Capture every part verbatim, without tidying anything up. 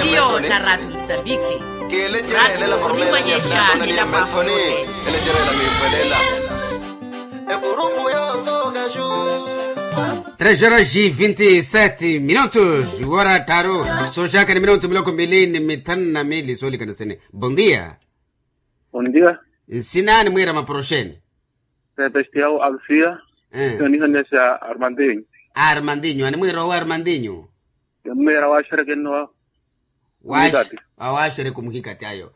Hiyo na ratu msambiki. Ratu unimwonyesha ila mwafulote. Tres horas e vinte e sete minutos wara taru. Soxaka ni minutu miloko mili ni mitanu na mili solikana sene. Bondia. Bondia. Nsinani mwira maporoxeni. Sebastião alfia. Onihanesa armandinho. Armandinho animwira owa armandinho. Mwira waxerekeniwa. Awaxereke omuhikati ayo.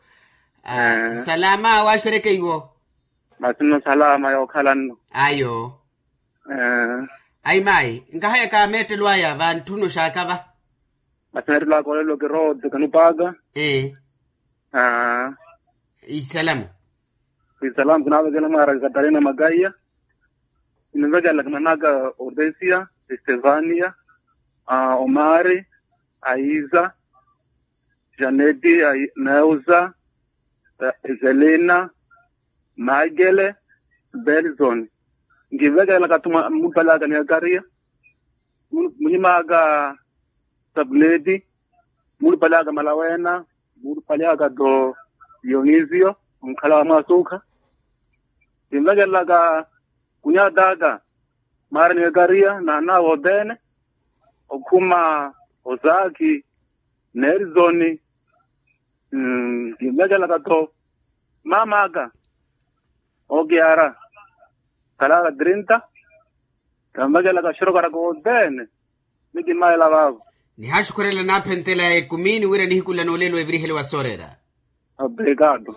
Salama awaxereke iwo. Masino salama yookhalanno. Ayo. Ayi mayi nkahayaka meettelo aya vantthuni oxaakava. Masi meettelo aka olelo kiroodze kanupaka. Isalamu. Isalamu kinaavekela mwaaraka katarina makaiya. Kinivekelaka manaka otesia, estevania, omari, aiza, janeti, neuza, ezelina, maikele, belzoni. Nkivekelaka tu mulupale aka ni akariya. Munyima aka, sabuleti. Mulupale aka malawena. Mulupale aka to, dionisio, onkhala wa mwasukha. Kinvekelaka kunyata aka, mara ni ekariya na anaawe othene. Okhuma, ozaki, nerisoni. Kinvekelaka to, mama aka, okiyara, khalaka trinta. Kanvekelaka xirokara kothene. Ni kimaela vavo. Nihaxukhurela naaphentela ekumini wira nihikula noolelo evirihele wa soorera. Obrigado.